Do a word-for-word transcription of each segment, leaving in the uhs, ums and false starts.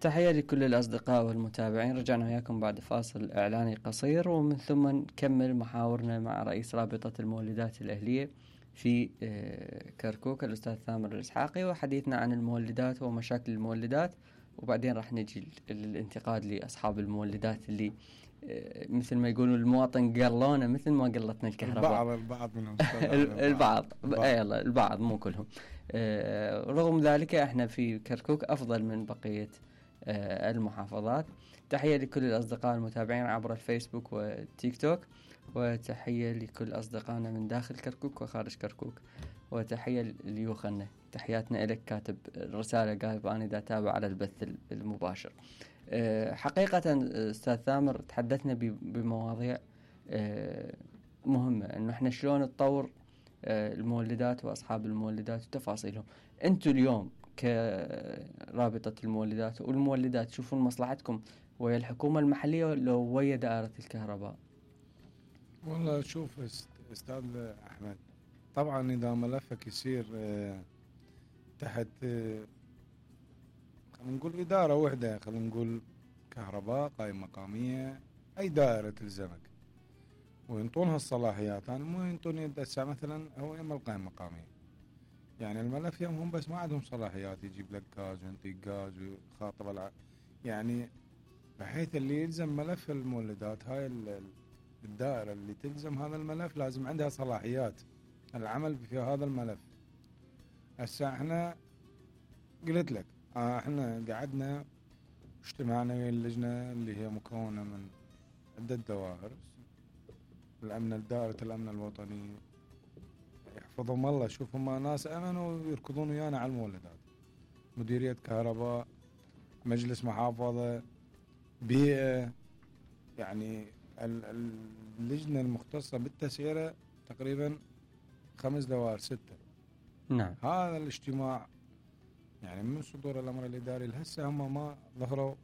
تحية لكل الأصدقاء والمتابعين. رجعنا وياكم بعد فاصل إعلاني قصير، ومن ثم نكمل محاورنا مع رئيس رابطة المولدات الأهلية في كركوك الأستاذ ثامر الإسحاقي، وحديثنا عن المولدات ومشاكل المولدات. وبعدين راح نجي الانتقاد لأصحاب المولدات اللي مثل ما يقولوا المواطن قلونا مثل ما قلتنا الكهرباء. البعض البعض منهم البعض اي الله البعض مو كلهم. رغم ذلك احنا في كركوك أفضل من بقية المحافظات. تحية لكل الأصدقاء المتابعين عبر الفيسبوك والتيك توك، وتحية لكل أصدقائنا من داخل كركوك وخارج كركوك، وتحية ليوخنا. تحياتنا لك كاتب الرسالة قايب أنا دا تابع على البث المباشر. حقيقة أستاذ ثامر تحدثنا بمواضيع مهمة، أنه إحنا شلون نطور المولدات وأصحاب المولدات وتفاصيلهم. أنتوا اليوم كرابطة المولدات والمولدات تشوفون مصلحتكم ويا الحكومة المحلية لو ويا دائرة الكهرباء؟ والله شوف أستاذ أحمد، طبعا إذا ملفك يصير تحت خلينا نقول إدارة وحدة، خلينا نقول كهرباء قائمة مقامية أي دائرة تلزمك وينطونها الصلاحيات. أنا مو ينطوني يدسع مثلا هو يم القائمة مقامية، يعني الملف يمهم بس ما عندهم صلاحيات يجيب لك غاز وينطيك غاز ويخاطب الع... يعني بحيث اللي يلزم ملف المولدات هاي الدائرة اللي تلزم هذا الملف لازم عندها صلاحيات العمل في هذا الملف. هسه احنا قلت لك اه احنا قعدنا اجتمعنا ويا اللجنة اللي هي مكونة من عدة دوائر، الأمن دائرة الأمن الوطني يحفظهم الله، شوف هم ناس أمنوا ويركضون ويانا على المولدات، مديرية كهرباء، مجلس محافظة، بيئة، يعني اللجنة المختصة بالتسعيرة تقريبا خمس دوائر ستة. نعم. هذا الاجتماع يعني من صدور الأمر الإداري لهسه هم ما ظهروا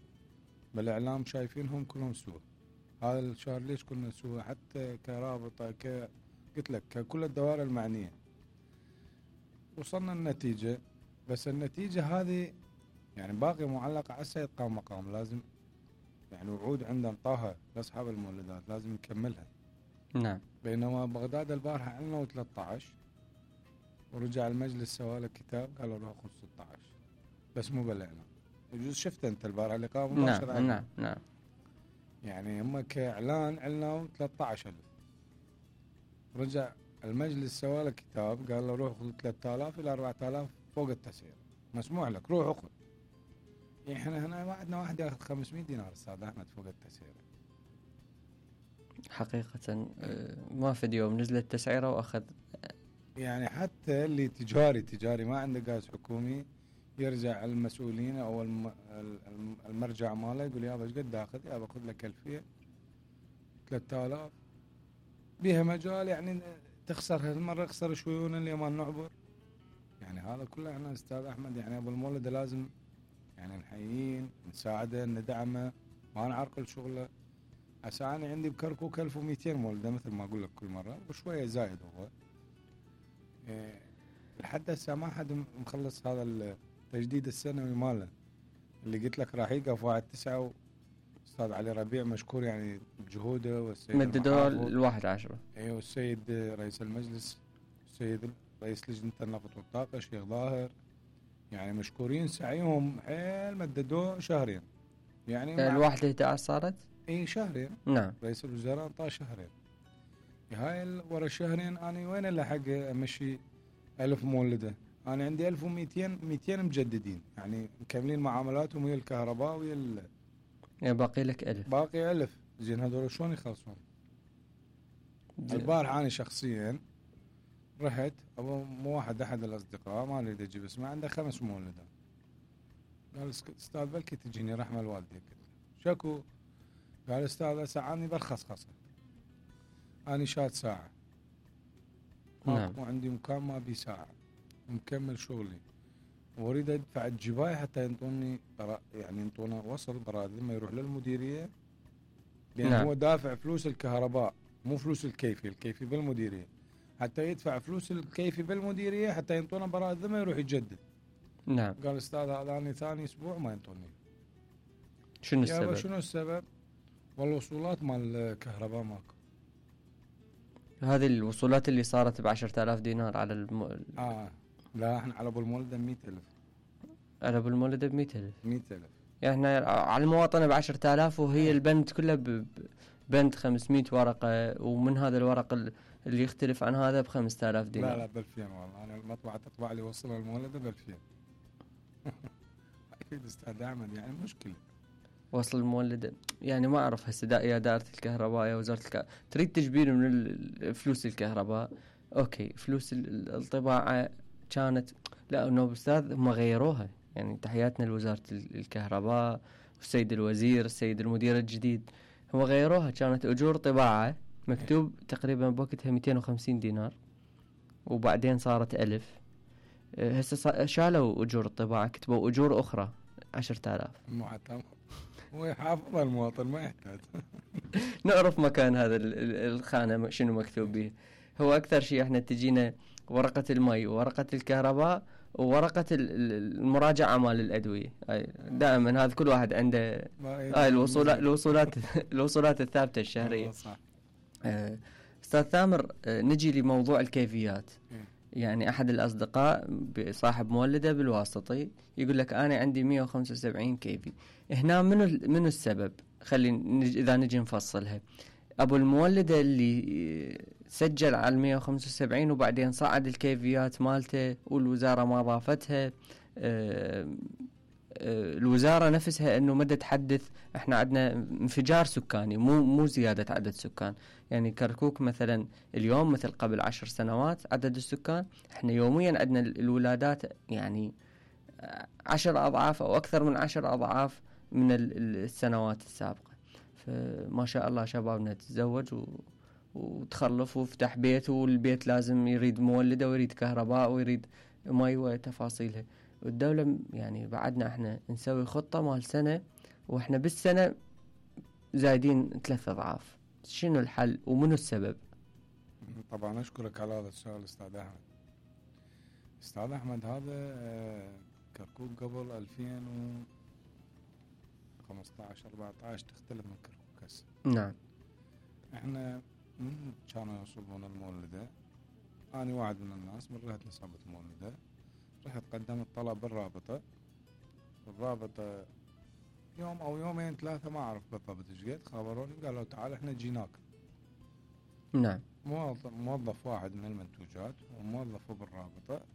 بالإعلام شايفينهم كلهم سوء. هذا الشهر ليش كنا سوء حتى كرابطة ك قلت لك ككل الدوائر المعنية وصلنا النتيجة، بس النتيجة هذه يعني باقي معلقة على السيد قام مقام، لازم يعني وعود عندنا طاها لأصحاب المولدات لازم نكملها. نعم. بينما بغداد البارحة عندنا ثلاثة عشر ورجع المجلس سواله كتاب قالوا له خذ ستة عشر بس مو بلعنا. يجوز شفت انت البارحة اللي قام مباشرة. نعم نعم نعم. يعني هم كإعلان عندنا ثلاثة عشر ألف، رجع المجلس سواله كتاب قال له روح خذ ثلاثة آلاف إلى أربعة آلاف فوق التسعير مسموح لك روح خذ. احنا هنا ما عندنا واحد ياخذ خمسمية دينار استاذ احمد فوق التسعير. حقيقة ما في يوم نزلت تسعيره واخذ، يعني حتى اللي تجاري تجاري ما عنده غاز حكومي يرجع المسؤولين او المرجع ماله يقول يابا ايش قد اخذ؟ يابا خذ لك ألفين ثلاثة آلاف بيها مجال يعني تخسر هالمره اخسر شويون اللي ما نعبر. يعني هذا كله احنا استاذ احمد يعني ابو المولد لازم يعني نحيين نساعده ندعمه ما نعرقل شغله. هسه انا عندي بكركوك ألف ومئتين مولده مثل ما اقول لك كل مره وشويه زايد هو إيه لحد هسه ما حد مخلص هذا التجديد السنوي ماله اللي قلت لك راح يقف واحد تسعة. استاذ علي ربيع مشكور يعني بجهوده والسيد مددوه الواحد عشرة. ايوه والسيد رئيس المجلس السيد رئيس لجنه النفط والطاقه الشيخ ظاهر يعني مشكورين سعيهم حيل مددوه شهرين. يعني الواحد احد عشر صارت اي شهرين. نعم. رئيس الوزراء انطاه شهرين. هاي ورا الشهرين انا وين اللي حق امشي ألف مولده؟ انا عندي ألف ومئتين مئتين مجددين يعني مكملين معاملاتهم ويا الكهرباء ويا ال... يعني باقي لك ألف. باقي ألف. زين هذول شلون يخلصون؟ البارح انا شخصيا رحت ابو مو واحد احد الاصدقاء ما اريد اجيب اسمه عنده خمس مولدات قال استاذ بلكي تجيني رحمه الوالدين شكو؟ قال استاذ ساعاني برخص خصه اني شاد ساعه نعم. مو عندي مكان ما بي ساعه مكمل شغلي واريد ادفع الجبايه حتى ينطوني يعني ينطونا وصل براد لما يروح للمديريه لان نعم. هو دافع فلوس الكهرباء مو فلوس الكيفي، الكيفي بالمديريه حتى يدفع فلوس الكيفي بالمديريه حتى ينطونا براد لما يروح يجدد. نعم. قال استاذ هذا اني ثاني اسبوع ما ينطوني شنو يابا السبب؟ شنو السبب؟ والوصولات مال الكهرباء ماكو. هذه الوصولات اللي صارت بعشرة آلاف دينار على الم... اه لا احنا على ابو المولد مئة ألف. على ابو المولد ب مئة ألف. مئة ألف يعني احنا على المواطنة بعشرة آلاف، وهي آه. البند كله ب... ب- بند خمسمية ورقة، ومن هذا الورق ال- اللي يختلف عن هذا بخمسة آلاف دينار. لا لا ب ألفين والله. انا المطبعة تطبع لي وصل المولد ب ألفين. اكيد استاذ احمد يعني مشكلة. وصل المولد يعني ما اعرف هسه دا يا دائرة الكهرباء يا وزارة الكهرباء تريد تجبير من ال- فلوس الكهرباء. اوكي فلوس ال- ال- الطباعة كانت، لا انه استاذ هم غيروها. يعني تحياتنا لوزارة ال- الكهرباء والسيد الوزير السيد المدير الجديد، هم غيروها. كانت اجور طباعة مكتوب تقريبا بوقتها مئتين وخمسين دينار، وبعدين صارت ألف. أه، هسه صا- شالوا اجور الطباعة، كتبوا اجور اخرى عشرة آلاف. معتمد. هو يحافظ المواطن ما يحتاج. نعرف مكان هذا ال- ال- الخانة شنو مكتوب به. هو أكثر شيء احنا تجينا ورقة المي وورقة الكهرباء وورقة ال- ال- المراجعة مال الأدوية. هاي دائما هذا كل واحد عنده هاي الوصولات الوصولات الوصولات الثابتة الشهرية. صح. آه، أستاذ ثامر، آه، نجي لموضوع الكيفيات. إيه. يعني أحد الأصدقاء صاحب مولدة بالواسطي يقول لك أنا عندي مئة وخمسة وسبعين كيفي. هنا منو منو السبب؟ خلي نج... إذا نجي نفصلها. أبو المولدة اللي سجل على مئة وخمسة وسبعين وبعدين صعد الكيفيات مالته والوزارة ما ضافتها. آه، آه، الوزارة نفسها انه مدى تحدث احنا عندنا انفجار سكاني، مو مو زيادة عدد سكان. يعني كركوك مثلا اليوم مثل قبل عشر سنوات عدد السكان، احنا يوميا عندنا الولادات يعني عشر اضعاف او اكثر من عشر اضعاف من ال- السنوات السابقة. فما شاء الله شبابنا تتزوج و وتخلف وفتح بيت، والبيت لازم يريد مولدة ويريد كهرباء ويريد مي وتفاصيلها. والدولة يعني بعدنا احنا نسوي خطة مال سنة واحنا بالسنة زايدين ثلاث اضعاف. شنو الحل ومنو السبب؟ طبعا اشكرك على هذا السؤال استاذ احمد. استاذ احمد هذا آه، كركوك قبل ألفين وخمسطعش أربعطعش تختلف من كركوك هسه. نعم. احنا من كانوا يوصلون المولدة، أنا واحد من الناس من رحت نصابة المولدة، رحت قدمت طلب بالرابطة. الرابطة يوم أو يومين ثلاثة ما أعرف بالضبط إيش قد، خبروني قالوا تعال إحنا جيناك. نعم. موظف, موظف واحد من المنتوجات وموظف بالرابطة،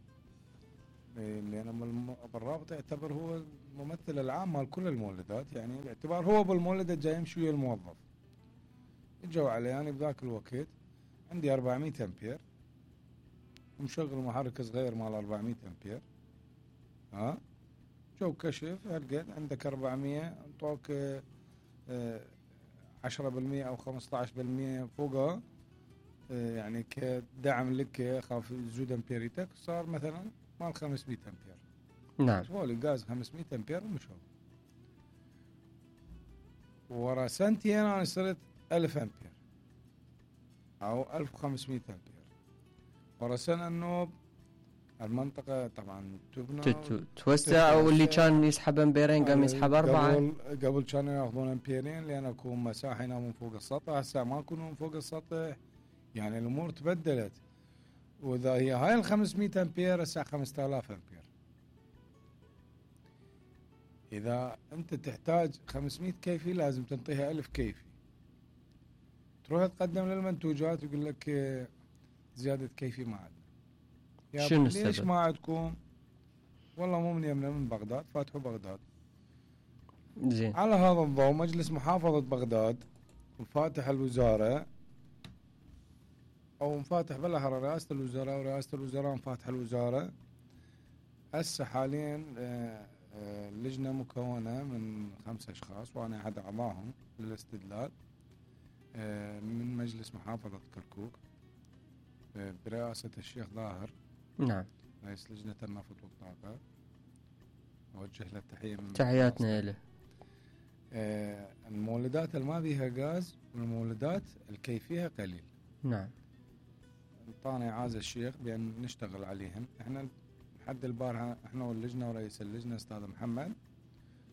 لأن بالرابطة يعتبر هو الممثل العام مال كل المولدات، يعني باعتبار هو بالمولدة جاي يمشي ويا الموظف. اجوا علي يعني بذاك الوقت عندي أربعمية أمبير ومشغل محرك صغير مال أربعمية أمبير. ها جو كشف هالقد عندك أربعمية، انطوك عشرة بالمية أو خمسطعش بالمية فوقها يعني كدعم لك خاف زود أمبيريتك، صار مثلا مال خمسمية أمبير. نعم. سوالي غاز خمسمية أمبير ومشوا. ورا سنتين أنا صرت ألف أمبير أو ألف وخمسمية أمبير. ورا سنة النوب المنطقة طبعا تبنى توسع، واللي كان يسحب امبيرين قام يسحب أربعة. قبل قبل كانوا ياخذون امبيرين لأن اكو مساحة هنا من فوق السطح، هسه ما يكونوا من فوق السطح، يعني الأمور تبدلت. وإذا هي هاي ال خمسمية أمبير هسه خمسة آلاف أمبير. إذا أنت تحتاج خمسمية كيفي لازم تنطيها ألف كيفي. تروح تقدم للمنتوجات يقول لك زيادة كيفي ما عندنا. شنو ليش السبب؟ ما عندكم؟ والله مو من يمنا من بغداد، فاتحوا بغداد. زين. على هذا الضوء مجلس محافظة بغداد وفاتح الوزارة أو مفاتح بالأحرى رئاسة الوزراء ورئاسة الوزراء مفاتح الوزارة. هسه حاليا لجنة مكونة من خمسة أشخاص وأنا أحد أعضائهم للاستدلال من مجلس محافظة كركوك برئاسة الشيخ ظاهر. نعم. رئيس لجنة النفط والطاقة، أوجه له التحية من تحياتنا له. آه المولدات اللي ما بيها غاز والمولدات الكيفية قليل. نعم. انطانا إعازة الشيخ بأن نشتغل عليهن. احنا لحد البارحة احنا واللجنة ورئيس اللجنة أستاذ محمد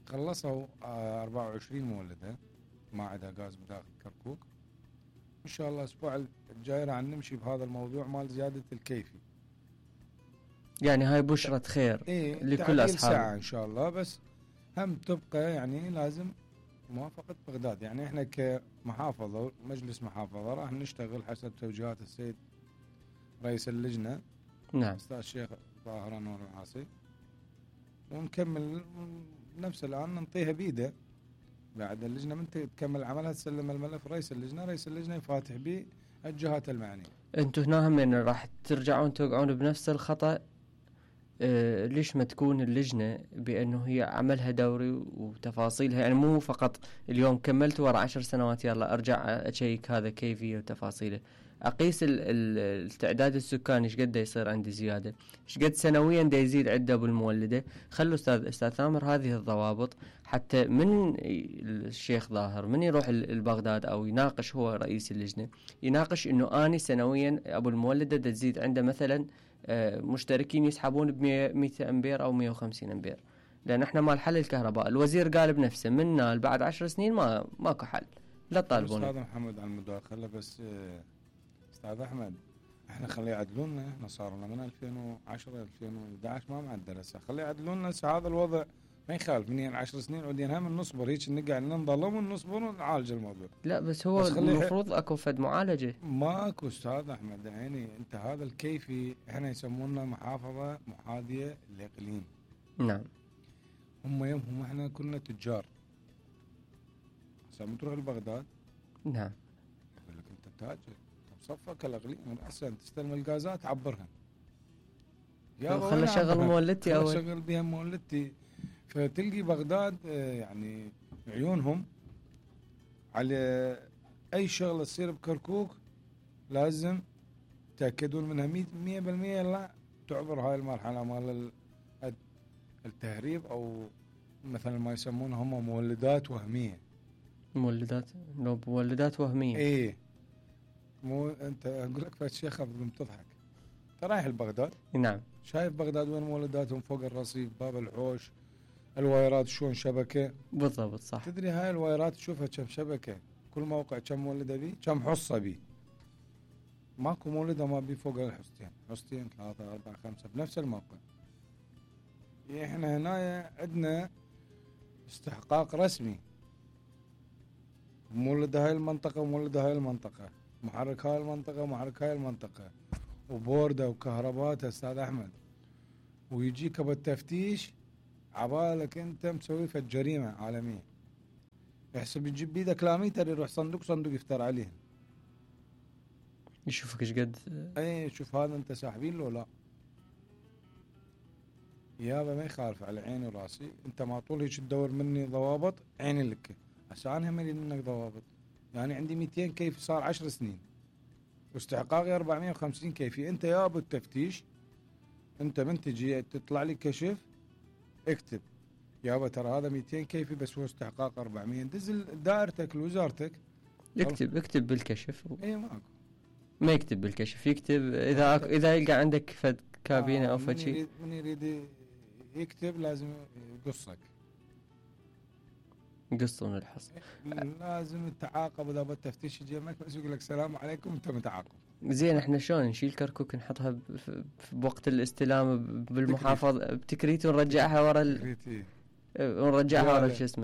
خلصوا أربعة وعشرين مولدة ما عندها غاز بداخل كركوك. ان شاء الله الاسبوع الجاي راح نمشي بهذا الموضوع مال زيادة الكيفي. يعني هاي بشرة خير إيه لكل اصحاب ساعة ان شاء الله، بس هم تبقى يعني لازم موافقة بغداد. يعني احنا كمحافظة مجلس محافظة راح نشتغل حسب توجيهات السيد رئيس اللجنة نعم استاذ الشيخ طاهر انور العاصي، ونكمل نفس الان ننطيها بيده بعد اللجنة من تكمل عملها تسلم الملف رئيس اللجنة، رئيس اللجنة يفاتح به الجهات المعنية. انتم هنا هم يعني راح ترجعون توقعون بنفس الخطأ. آه ليش ما تكون اللجنة بأنه هي عملها دوري وتفاصيلها، يعني مو فقط اليوم كملت ورا عشر سنوات يلا أرجع أشيك هذا كيفية وتفاصيله، أقيس ال ال التعداد السكاني ايش قد يصير عندي زيادة، ايش قد سنويا دا يزيد عدة بالمولدة. خلوا أستاذ أستاذ ثامر هذه الضوابط حتى من الشيخ ظاهر من يروح البغداد أو يناقش هو رئيس اللجنة يناقش إنه أني سنويا أبو المولدة دا تزيد عنده مثلا مشتركين يسحبون بمئة أمبير أو مئة وخمسين أمبير، لأن إحنا مال حل الكهرباء الوزير قال بنفسه منا بعد عشر سنين ما ماكو حل لا تطالبون. أستاذ محمد على المداخلة بس أستاذ أحمد إحنا خليه يعدلونا، إحنا صار لنا من ألفين وعشرة ألفين وأحد عشر ما معدل هسه، خليه يعدلونا هسه هذا الوضع ما يخالف من عشر سنين عودين هم نصبر هيك نقعد ننظلم ونصبر ونعالج الموضوع. لا بس هو بس المفروض اكو فد معالجه. ماكو استاذ احمد يعني انت هذا الكيفي احنا يسمونا محافظه محاذيه للاقليم. نعم. هم يومهم احنا كنا تجار. هسه بتروح لبغداد. نعم. يقول لك انت تاجر تصفك الاقليم احسن تستلم الغازات عبرها. يا خلي شغل مولدتي اول. شغل بها مولدتي. فتلقي بغداد يعني عيونهم على أي شغلة تصير بكركوك لازم تأكدون منها مية بالمية لا تعبر هاي المرحلة مال التهريب أو مثلا ما يسمونها هم مولدات وهمية. مولدات لو مولدات وهمية. إيه مو أنت أقول لك فات شيخ أبغى تضحك. أنت رايح لبغداد. نعم. شايف بغداد وين مولداتهم فوق الرصيف باب الحوش الوايرات شلون شبكة. بالضبط صح. تدري هاي الوايرات تشوفها كم شبكة كل موقع كم مولدة بيه كم حصة بيه. ماكو مولدة ما بيه فوق الحصتين حصتين ثلاثة أربعة خمسة بنفس الموقع. احنا هنا عندنا استحقاق رسمي مولد هاي المنطقة ومولد هاي المنطقة محرك هاي المنطقة ومحرك هاي المنطقة وبوردة وكهربات أستاذ أحمد ويجيك بالتفتيش عبالك انت مسوي في الجريمة عالمية. يحسب يجيب بيدك لاميتر يروح صندوق صندوق يفتر عليه يشوفك ايش قد. اي شوف هذا انت ساحبين له لا يابا ما يخالف على عيني وراسي. انت ما طول هيك تدور مني ضوابط عيني لك هسه انا هم اريد منك ضوابط. يعني عندي مئتين كيفي صار عشر سنين واستحقاقي أربعمئة وخمسين كيفي. انت يابا التفتيش انت من تجي تطلع لي كشف اكتب يابا ترى هذا مئتين كيفي بس هو استحقاق أربعمئة دزل دائرتك لوزارتك اكتب اكتب بالكشف. اي ماكو ما يكتب بالكشف يكتب اذا اذا يلقى عندك فد كابينه آه او فد شيء. من يريد يكتب لازم يقصك يقصون الحص. لازم التعاقب اذا بالتفتيش يجي معك بس يقول لك السلام عليكم انت متعاقب. زين احنا شلون نشيل كركوك نحطها بوقت الاستلام بالمحافظه بتكريت ونرجعها ورا ال... ونرجعها ورا شو اسمه